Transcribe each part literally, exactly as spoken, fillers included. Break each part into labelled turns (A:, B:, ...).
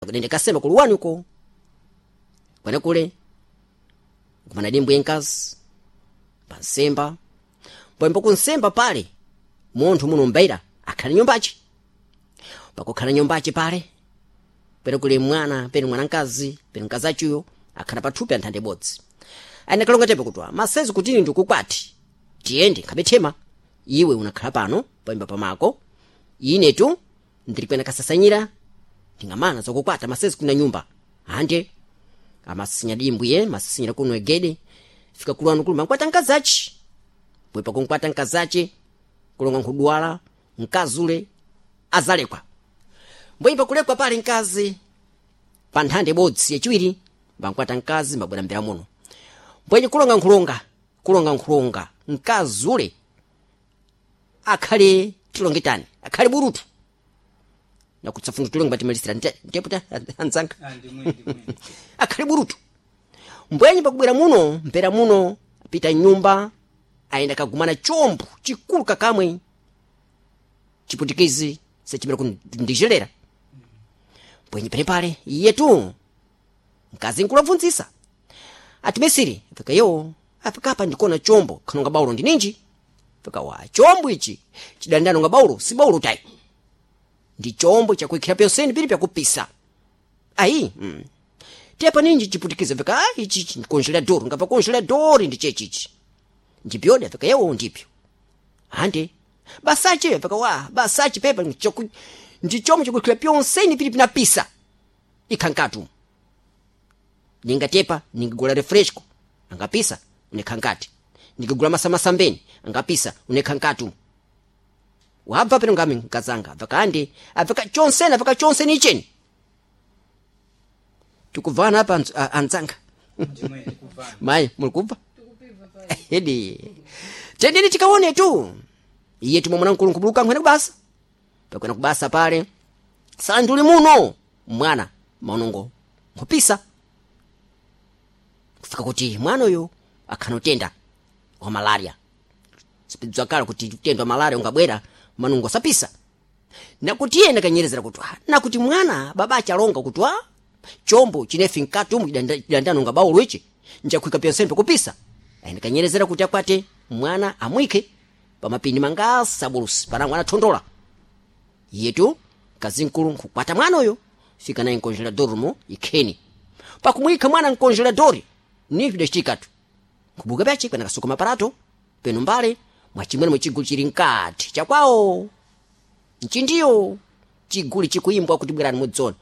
A: Pakudende kasema kuluwani uko kwene kule kumana dimbwi yenkazi pansemba mbwembo kunsemba pale munthu muno mbaira akhala nyumbachi pakukhala nyumbachi pale pene kuli mwana pene mwanankazi pene mkazi achuyo akhala pathupi anthande ibodzi ane kalonga tepe kutwa masezi kutini ndikukwati tiyende nkhabethema iwe unakhala pano payimba pamako inetu ndiri kwena kasasanyira ndingamana zokukwata masezi kuna nyumba ande amasasinya dimbwiye masasinyira kuno egede fika kulwanu kuluma nkwata nkazachi bwepa kunkwata nkazachi kulonga nkhudwala nkazule azalekwa mbweyipa kulekwa pale nkazi pa nthanda ibodzi yachiwiri mbankwata nkazi mbabwera mbera muno mbwenye kulonga nkhulonga kulonga nkhulonga nkazule akhale tilonge tani akhale burutu nakutsafuna tulonge batimalisira nteputa anzanga
B: Ah, ndimwe ndimwe
A: akhale burutu mbwenye pakubwera muno mpera muno pita nyumba ayenda kagumana chombo chikulu kakamwe chiputikizi sechimera kundijelera mbwenye penepale iyetu mkazi nkulabvunzisa ati mesiri fika yo afika apa ndikuona chombo khanonga baulo ndi ninji fika wa chombo ichi chidandanonga baulo si baulo tayi ndi chombo chakuikhira pyonseni pili pyakupisa ayi mm. tepa ninji chiputikiza fika ah, ichi ichi congelador ngapa congelador ndi chechichi ndipyodi fika yewo ndipyo ande basache fika wa basache pepa choku ndi chombo chakuikhira pyonseni pili pinapisa ikhankatu ningatepa ningigula refresco angapisa unekhankati ningigula masamasambeni angapisa unekhankatu wabva peno ngami nkazanga abva abvaka chonseni abvaka chonseni icheni tikubvana apa anz- a- anzanga
B: ndimwe ndikuvana
A: mayi muli kubva edi tendeni tikaone tu iye tumwe mwana mkulu nkubuluka nkhwene kubasa pakwena kubasa pale sanduli muno mwana maunongo nkhupisa kufika kuti mwana uyu akhanotenda wa malaria sipidzakala kuti utenda wa malaria ungabwera manungo sapisa nakuti iye ndakanyerezera kuti ah, nakuti mwana baba achalonga kuti ah, chombo chinefi mkati umu chidandanonga baulo ichi njakuika pyonsembe kupisa ayi ndakanyerezera kuti akwate mwana amwike pamapindi mangasa bulusi pana mwana thondola yetu mkazi mkulu nkukwata mwana uyo fika naye nkonjelador mo ikheni pakumwikha mwana nkonjeladori ni pidachitikatu nkubuka pyache kwena kasuka maparato peno mbale mwachimwene mwechigulu chili mkati chakwawo nchindiyo chiguli chikuimbwa kuti bwerani mudzone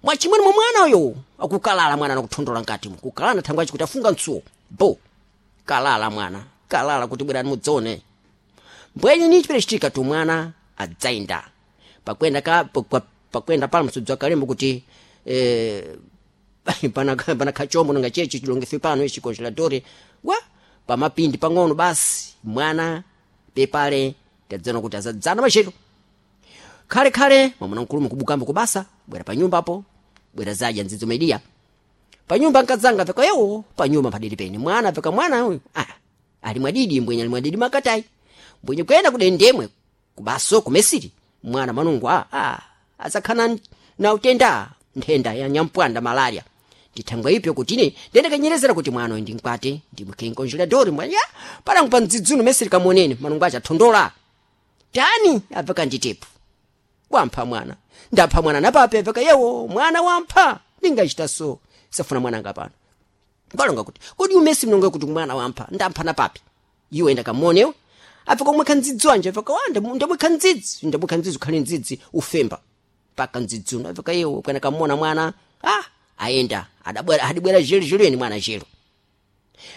A: mwachimwene mwa mwana uyo akukalala mwana nakuthondola mkatimo kukalala thangwe achi kuti afunga mtsuwo bo kalala mwana kalala kuti bwerani mudzone mbwenye ni chipere chitika tu mwana adzainda pakwenda ka pa- pakwenda pala msudzi wakalembo kuti eh, pana pana kachombo nanga chechi chilongefe pano ichi congeladore wa pamapindi pang'ono basi mwana pepale tadzana kuti azadzana machero khale khale mwamuna mkulumu kubukambo kubasa bwera panyumba apo bwera zadya nzidzo mediya panyumba nkadzanga peka yewo panyumba padidi pene mwana peka mwana uyu ah, ali mwadidi mbwenye ali mwadidi makatai mbwenye kuyenda kudendemwe kubaso kumesiri mwana manungu ah, ah, azakhana na utenda nthenda ya nyampwanda malaria ndithangwa ipyo kuti ine ndendekanyerezera kuti mwana uyu ndinkwate ndimwikhe nkonjeladori mwana ya palangu pa mdzidzuno mesiri kamonene manungu acha thondola tani apeka nditepo wampha mwana ndapha mwana napape apeka yewo mwana wampha ndingachita so safuna mwana anga pano balonga kuti kodi umesi mnonge kuti mwana wampha ndampha napapi iwe ndakamuonewe apeka umwekha ndzidzi wanje apeka wa ndamwekha ndzidzi ndamwekha ndzidzi ukhale ndzidzi ufemba paka ndzidzi uno apeka yewo kwena kamuona mwana ah ayenda adabwera adibwera jelo jelweni mwana jelo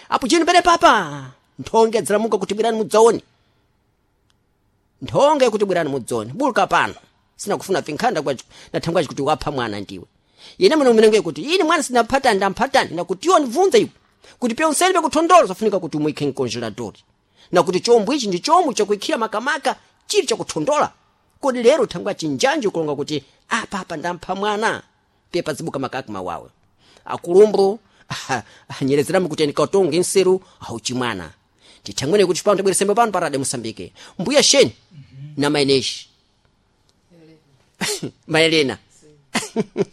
A: apo chino pene papa nthonge adzalamuka kuti bwerani mudzaone nthonge kuti bwerani mudzone buluka pano sinakufuna finkhanda nathangwaci kuti wapha mwana ndiwe ine muno mmenenge kuti ine mwana sinamphatani ndamphatani nakuti iwo ndibvunza iwe kuti pyonseni pyakuthondola zafunika kuti umwikhe mkonjeladori nakuti chombo ichi ndi chombo chakuikhira makamaka chili chakuthondola kodi lero thangwa chinjanji kulonga kuti apa apa ndampha mwana pepa zibuka makaka mawawe akulumbu anyerezeramo kuti ndikatonge nseru auchimwana tithangwene kuti pano tabweresembe pano parade musambike mbuya sheni na maineshi maelena